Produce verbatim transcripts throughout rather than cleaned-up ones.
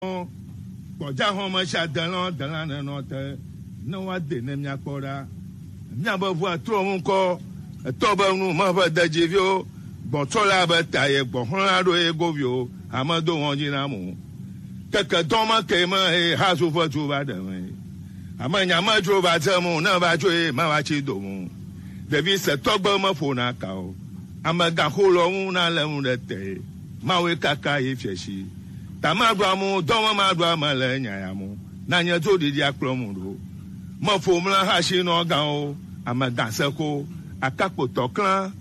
Kpɔdza xɔme sia delɔ dela nenɔ te ne woade ne míakpɔ ɖa. Míabe ʋua trɔ ŋu kɔ, etɔ be nu meʋe dedziviwo, gbɔtsɔla be ta ye gbɔxlɔ̃la ɖo ye goviwo, ame do ŋɔdzi na mo. Keke dɔ me ke me eye hazu ƒe tu va ɖe me. Ame nya me dzro va dze mo ne va tso ye ma va tsi do mo. Ɖevi setɔgbe me ƒona ka o. Ame gaxo lɔ ŋu na le ŋu ɖe te. Mawe kaka ye fiɛ si. Tamaɖo amu dɔme maɖo ame le nya ya mu. Na nye dzo ɖiɖi akplɔ mu ɖo. Meƒo mla hasi nɔ gawo, ame gaseko, akakpotɔ klã.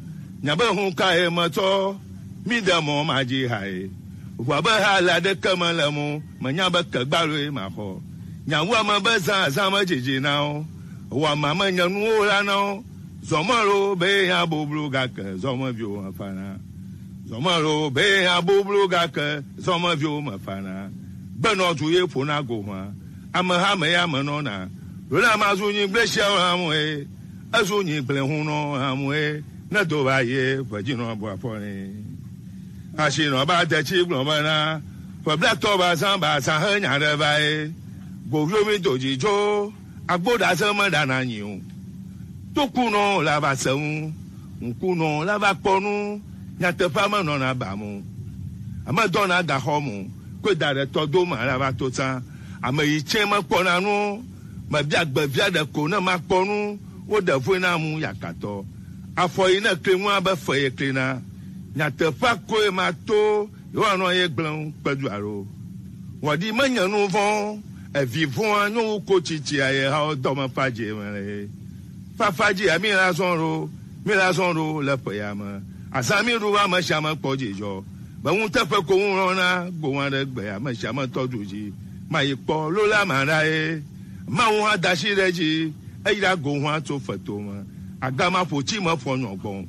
Nya be hun ka ye metsɔ, mi de mɔ ma dzi ha ye. Ʋua be ha le aɖeke me le mu, menya be kegbaloe maxɔ. Nyawu ame be zã azã me dzidzi na wo. Wɔ ame ame nye nuwo la na wo. Zɔmɔlo be ya boblo gake zɔmeviwo mefana. Zɔmɔlo be ya boblo gake zɔmeviwo mefana. Gbenɔ tu ye ƒona go hwa. Ameha me ya menɔna. Lola mazu nyigble siawo hamoe. Ezu nyigble hunɔ hamoe. Ne do va ye ƒedzinɔ bɔ afɔ ne. Asinɔ ba de tsi gblɔ bena, ƒe blatɔ ba zã ba zã he nya ɖe va ye. Goviwo mi do dzidzo. Agbo ɖase meɖana nyi o. Tokunɔ la va se ŋu, ŋkunɔ la va kpɔ nu, nyateƒea menɔna ba mo. Ame dɔna gaxɔ mo, koe da ɖe tɔ do ma la va to tsã. Ame yi tsɛ mekpɔna nu, mebia gbevia ɖe ko ne makpɔ nu, woɖe vɔe na mu yakatɔ. Afɔ yi ne kli ŋua be fe ye klina. Nyateƒea koe mato Yehowa nɔ ye gblẽ ŋu kpedu alo. Wɔɖi menye nu vɔ̃, evi vɔ̃a nyo wu ko tsitsia ye hawo dɔme fadzi me le. Fafadzi ya mi la zɔn ɖo, mi la zɔn ɖo le ƒe ya me. Azã mi ɖu ame sia ame kpɔ dzidzɔ. Be ŋuteƒe ko ŋu lɔna gbowa ɖe gbe ame sia ame tɔdu dzi. Ma yi kpɔ lo la ma ɖa ye. Mawu hã da asi ɖe dzi, eyra go hã tso feto me. Agama ƒo tsi me fɔ nyɔ gbɔn.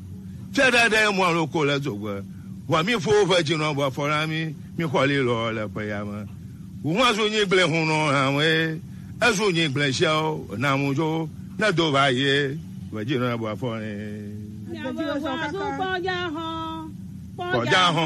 Fia ɖe ɖe mɔ loko le dzogbe. Wa mi fo ve dzi nɔ bɔ fɔ na mi, mi xɔ li lɔ le ƒe ya me. Wu hã zu nyi gblẽ hu nɔ hã we. Ezu nyi gblẽ siawo na mu dzo, ne do va ye, ve dzi nɔ bɔ fɔ ne. Miabe wa zu kpɔdza hɔn. Kpɔdza hɔn.